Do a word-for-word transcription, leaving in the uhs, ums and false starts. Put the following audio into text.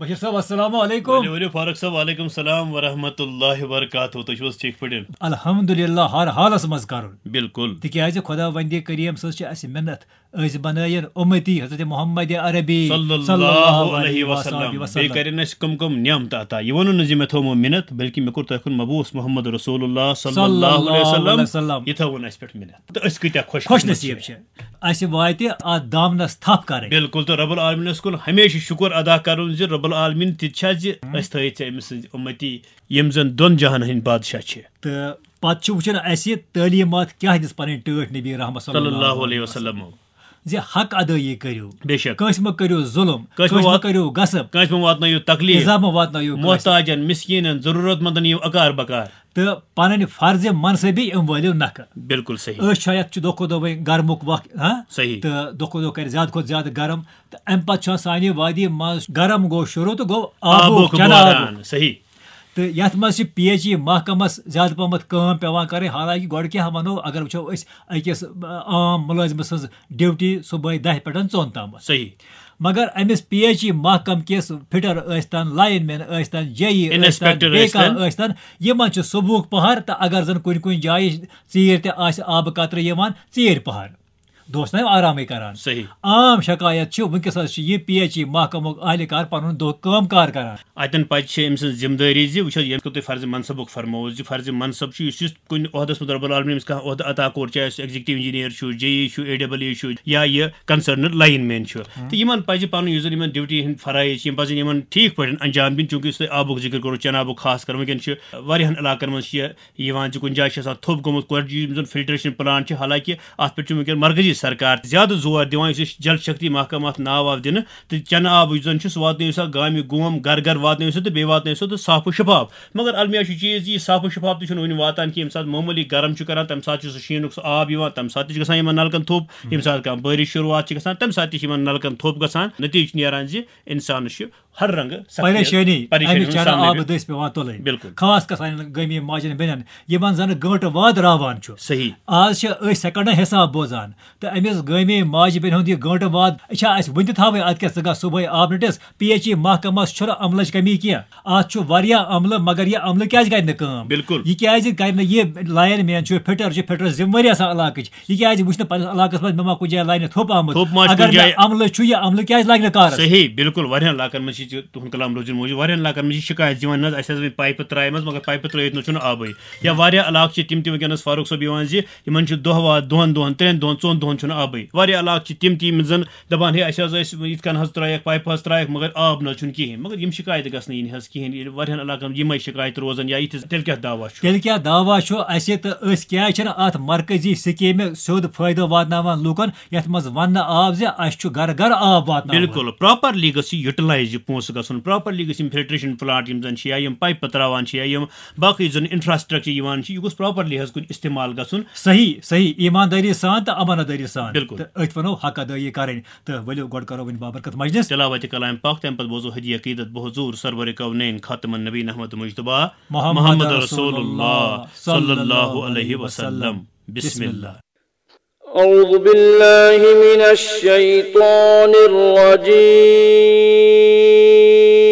بشیر صٲب، السلام علیکم۔ ؤلِو، ؤلِو، فاروق صٲب، وعلیکم السلام ورحمۃ اللہ وبرکاتہ۔ تُہۍ چھِو حظ ٹھیٖک پٲٹھۍ؟ الحمدللہ، ہر حالس منٛز کرُن۔ بِلکُل۔ تِکیازِ خۄداوندِ کریم سٕنٛز چھِ اَسہِ مِنت، أسۍ بنٲیِن اُمتی حضرت محمد عربی صلی اللہ علیہ وسلم۔ بیٚیہِ کرن اَسہِ کم کم نعمت عطا۔ یہِ ووٚنُن نہٕ زِ مےٚ تھوٚومو مِنت، بلکہِ مےٚ کوٚر تۄہہِ کُن مبعوث محمد رسول اللہ صلی اللہ علیہ وسلم۔ یہِ تھٲوٕن اَسہِ پٮ۪ٹھ مِنت۔ تہٕ أسۍ کۭتیٛاہ خۄش خۄش نصیٖب چھِ۔ اَسہِ واتہِ اَتھ دامنَس تھپھ کَرٕنۍ۔ بِلکُل، تہٕ رب العالمینَس کُن ہمیشہِ شُکُر ادا کَرُن زِ رب العالمین تہِ چھا زِ أسۍ تھٲیِتھ ژےٚ أمۍ سٕنٛدۍ اُمتی، یِم زَن دۄن جہانَن ہٕنٛدۍ بادشاہ چھِ۔ تہٕ پَتہٕ چھُ وٕچھُن اَسہِ تعلیٖمات کیٛاہ دِژ پَنٕنۍ ٹٲٹھۍ نبی رحمت صلی اللہ علیہ وسلم۔ زِ حق ادٲیی کٔرِو۔ بے شک۔ کٲنٛسہِ مہ کٔرِو ظُلُم، کٲنٛسہِ مہ کٲنٛسہِ مہ وات-، کٔرِو غصب، کٲنٛسہِ مہ واتنٲیِو تکلیٖف، اِزا مہ واتنٲیِو کٲنٛسہِ۔ محتاجن، مسکیٖنن، ضروٗرت مندن یِیِو اکار بکار۔ تہٕ پنٕنۍ فرض منصبی یِم وٲلِو نکھٕ۔ بِلکُل صحیح۔ أسۍ چھِ یتھ چھُ دۄہ کھۄتہٕ دۄہ وۄنۍ گرمُک وقت، ہاں؟ صحیح۔ تہٕ دۄہ کھۄتہٕ دۄہ کرِ زیادٕ کھۄتہٕ زیادٕ گرم۔ تہٕ امہِ پتہٕ چھُ آسان سانہِ وادی منٛز گرم گوٚو شروٗع تہٕ گوٚو آبُک آبُک چنارُک۔ بحران، صحیح۔ تہٕ یتھ منٛز چھِ پی ایچ ای محکمس زیادٕ پہمتھ کٲم پٮ۪وان کرٕنۍ، حالانکہِ گۄڈٕ کیٛاہ ونو، اگر وٕچھو أسۍ أکِس، آ، عام مُلٲزمہٕ سٕنٛز ڈیوٹی صبحٲے دَہہِ پٮ۪ٹھ ژۄن تامَتھ۔ صحیح۔ مگر أمِس پی ایچ ای محکمہٕ کِس فٹر ٲسۍتن، لائن مین ٲسۍتن، جے ای ٲسۍتن، انسپیکٹر بیٚیہِ کانٛہہ ٲسۍتن۔ ٲسۍتن، یِمن چھُ صبحُک پہر تہٕ اگر زن کُنہِ کُنہِ جایہِ ژیٖرۍ تہِ آسہِ آبہٕ قطرٕ یِوان، ژیٖرۍ پہر۔ دۄہس تام آرامٕے کران۔ صحیح۔ عام شکایت چھِ وٕنکیٚس حظ چھِ یہِ پی ایچ ای محکمُک اہلکار پنُن دۄہ کٲم کار کران۔ اتٮ۪ن پزِ چھِ أمۍ سٕنٛز ذمہٕ دٲری زِ وٕچھ حظ، ییٚمہِ کِتھ تۄہہِ فرض منصبُک فرمووُ زِ فرض منصب چھُ، یُس یُس کُنہِ عہدس منٛز رب العالمین أمِس کانٛہہ عہدٕ عطا کوٚر، چاہے سُہ ایگزیکٹو انجینئر چھُ، جے ای چھُ، اے ڈبل ای چھُ، یا یہِ کنسرنڈ لائن مین چھُ۔ تہٕ یِمن پزِ پنُن یُس زن یِمن ڈیوٹی ہٕنٛدۍ فرائض چھِ، یِم پزن یِمن ٹھیٖک پٲٹھۍ انجام دِنۍ، چوٗنکہِ یُس تۄہہِ آبُک ذِکر کوٚروٕ، چنہٕ آبُک خاص کر، وٕنکیٚن چھِ واریاہن علاقن منٛز چھِ یہِ یِوان زِ کُنہِ جایہِ چھِ آسان تھوٚپ گوٚمُت، کۄڑِ یِم زَن فلٹریشن پلانٹ چھِ، حالانکہِ اَتھ پٮ۪ٹھ چھُ وٕنکیٚن مرکزی سرکار تہِ زیادٕ زور دِوان، یُس أسۍ جل شکتی محکمہٕ اَتھ ناو واو دِنہٕ، تہٕ چنہٕ آب یُس زَن چھُ، سُہ واتنٲیِو سا گامہِ گوم، گرٕ گرٕ واتنٲیِو سا تہٕ بیٚیہِ واتنٲیِو سا تہٕ صاف و شفاف۔ مگر المیہ چھُ چیٖز یہِ، صاف و شفاف تہِ چھُنہٕ وٕنہِ واتان کینٛہہ۔ ییٚمہِ ساتہٕ معموٗلی گرم چھُ کران، تَمہِ ساتہٕ چھُ سُہ شیٖنُک سُہ آب یِوان، تَمہِ ساتہٕ تہِ چھُ گژھان یِمن نلکن تھوٚپ، ییٚمہِ ساتہٕ کانٛہہ بٲرِش شروٗعات چھِ گژھان، تَمہِ ساتہٕ تہِ چھِ یِمن نلکن تھوٚپ گژھان۔ نتیٖجہِ چھُ نیران زِ اِنسانَس چھُ ہر رنگہٕ سختی، پریشٲنی، پریشٲنی اَمہِ ہُنٛد چنہٕ سامنہٕ آبہٕ دٔسۍ پٮ۪وان تُلٕنۍ۔ بِلکُل۔ خاص کر سانٮ۪ن گٲمی ماجٮ۪ن بیٚنٮ۪ن، یِمن زن گٲنٹہٕ واد راوان چھُ۔ صحیح۔ آز چھِ أسۍ سیکنڈن حساب بوزان، تہٕ أمِس گٲمی ماجہِ بیٚنہِ ہُنٛد یہِ گٲنٹہٕ واد چھا اَسہِ وُنہِ تہِ تھاوٕنۍ؟ اَتھ کیٛاہ، ژٕ گژھ صبحٲے آبہٕ نٔٹِس، پی ایچ ای محکمس چھُنہٕ عملٕچ کمی کینٛہہ، اَتھ چھُ واریاہ عملہٕ، مگر یہِ عملہٕ کیٛازِ کرِ نہٕ کٲم؟ بِلکُل۔ یہِ کیٛازِ کرِ نہٕ، یہِ لائن مین چھُ، فٹر چھُ، فٹر ذمہٕ وٲری آسان علاقٕچ، یہِ کیٛازِ وٕچھ نہٕ پننِس علاقس منٛز مےٚ ما کُنہِ جایہِ لگہِ نہٕ تھوٚپ آمُت؟ تھوٚپ ما آسہِ اگر کُنہِ مےٚ جایہِ؟ عملہٕ چھُ، یہِ عملہٕ کیٛازِ لگہِ نہٕ کارس؟ صحیح، بِلکُل۔ واریاہن علاقن منٛز چھِ تہِ تُہُنٛد کلام روزُن موٗجوٗد، واریاہن علاقن منٛز چھِ شکایت یِوان، نہ حظ، اَسہِ حظ وۄنۍ پایپہٕ ترٛایمَژ، مگر پایپہٕ ترٛٲیِتھ نہ چھُنہٕ آبٕے۔ یا واریاہ علاقہٕ چھِ تِم تہِ وٕنکیٚنَس، فاروق صٲب، یِوان زِ یِمن چھُ دۄہ واد دۄن دۄہن، ترٛٮ۪ن دۄہن، ژۄن دۄہن چھُنہٕ آبٕے۔ واریاہ علاقہٕ چھِ تِم تہِ، یِم زَن دَپان، ہے، اَسہِ حظ ٲسۍ یِتھ کٔنۍ حظ ترٛٲیَکھ، پایپہٕ حظ ترٛایَکھ، مگر آب نہ حظ چھُنہٕ کِہیٖنۍ۔ مگر یِم شکایتہٕ گژھنہٕ یِنہِ حظ کِہیٖنۍ، ییٚلہِ واریاہن علاقن منٛز یِمے شکایتہٕ روزن یا یِتھِس، تیٚلہِ کیٛاہ دعویٰ چھُ؟ تیٚلہِ کیٛاہ دعویٰ چھُ اَسہِ تہٕ أسۍ کیٛازِ چھِنہٕ اَتھ مرکزی سکیٖمہِ سیوٚد فٲیدٕ واتناوان لوٗکن، یَتھ منٛز وَننہٕ آو زِ اَسہِ چھُ گرٕ گرٕ آب واتناوُن؟ بِلکُل، پراپرلی گٔژھ یہِ یوٹیلائز یہِ پونٛسہٕ گژھُن، پراپرلی گٔژھ یِم فلٹریشن پلانٹ یِم زَن چھِ یا یِم پایپہٕ ترٛاوان چھِ یا یِم باقٕے زَن انفراسٹرکچر یِوان چھِ، یہِ گوٚژھ پراپرلی حظ کُنہِ استعمال گژھُن۔ صحیح، صحیح، ایماندٲری سان تہٕ امانت دٲری سان۔ بِلکُل۔ تہٕ أتھۍ وَنو حق ادٲیی کَرٕنۍ۔ تہٕ ؤلِو گۄڈٕ کَرو وۄنۍ بابرکت مجلس۔ تلاوت کلام پاک، تَمہِ پتہٕ بوزو ہدیہ عقیدت بحضور سرور کونین خاتم النبی احمد مجتبیٰ محمد محمد رسول رسول اللہ اللہ صلی اللہ صلی اللہ علیہ علیہ وسلم۔ وسلم۔ بسم بسم اللہ۔ اللہ۔ أعوذ بالله من الشيطان الرجيم.